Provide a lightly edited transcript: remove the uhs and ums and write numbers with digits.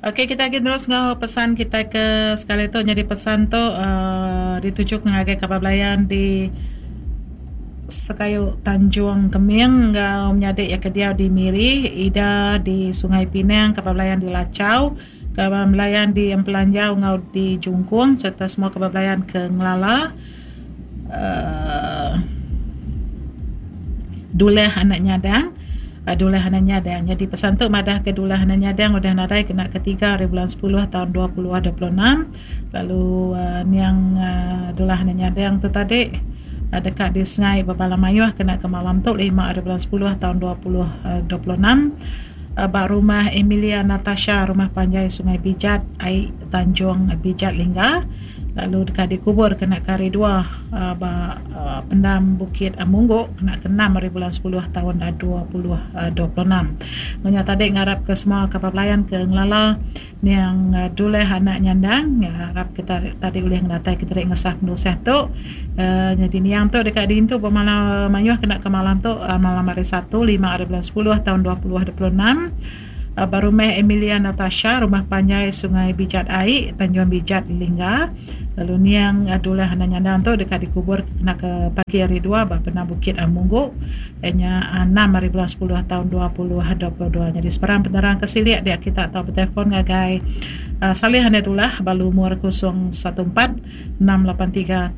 Okey kita agi terus enggau pesan kita ke sekali tu nyadi pesan tu uhh dituju ngagai kaban belayan di Sekayu Tanjung Keming enggau menyadi iya ke diau di Miri, Ida di Sungai Pinang, kaban belayan di Lachau, kaban belayan di Empelanjau enggau di Jungkung serta semua kaban belayan ke ngelala uhh Duleh anak Nyadang. Duleh anak Nyadang. Nyadi pesan tu madah ke Duleh anak Nyadang udah nadai kena ke tiga ari bulan sepuluh taun 2026 lalu uhh niang uhh Duleh anak Nyadang tu tadi deka disengai bebala mayuh kena ke malam tu lima ari bulan sepuluh taun 2026 ba rumah Emilia Natasha Rumah Panjai Sungai Bijat ai Tanjung Bijat Lingga. Lalu deka dikubur kena ke hari dua ba pendam Bukit Munggu kena ke enam ari bulan sepuluh taun 2026. Menya tadi ngarap ke semua kaban belayan ke ngelala niang Duleh anak Nyandang ngarap kita tadi ulih ngenatai ke diri ngesah penusah tu. Nyadi niang tu deka diintu ba malam mayuh kena ke malam tu malam hari Satu lima ari bulan sepuluh taun 2026. Ba rumah Emilia Natasha, Rumah Panjai Sungai Bijat Ai, Tanjung Bijat, Lingga. Lalu niang Dullah Anak Nyandang tu deka dikubur kena ke pagi hari dua ba Pena Bukit Munggu iya nya enam hari bulan sepuluh taun 2022. Nyadi sebarang penerang ke silik dia kita tau betelefon ngagai Salih Anak Dullah ba lumur 014 683 7720.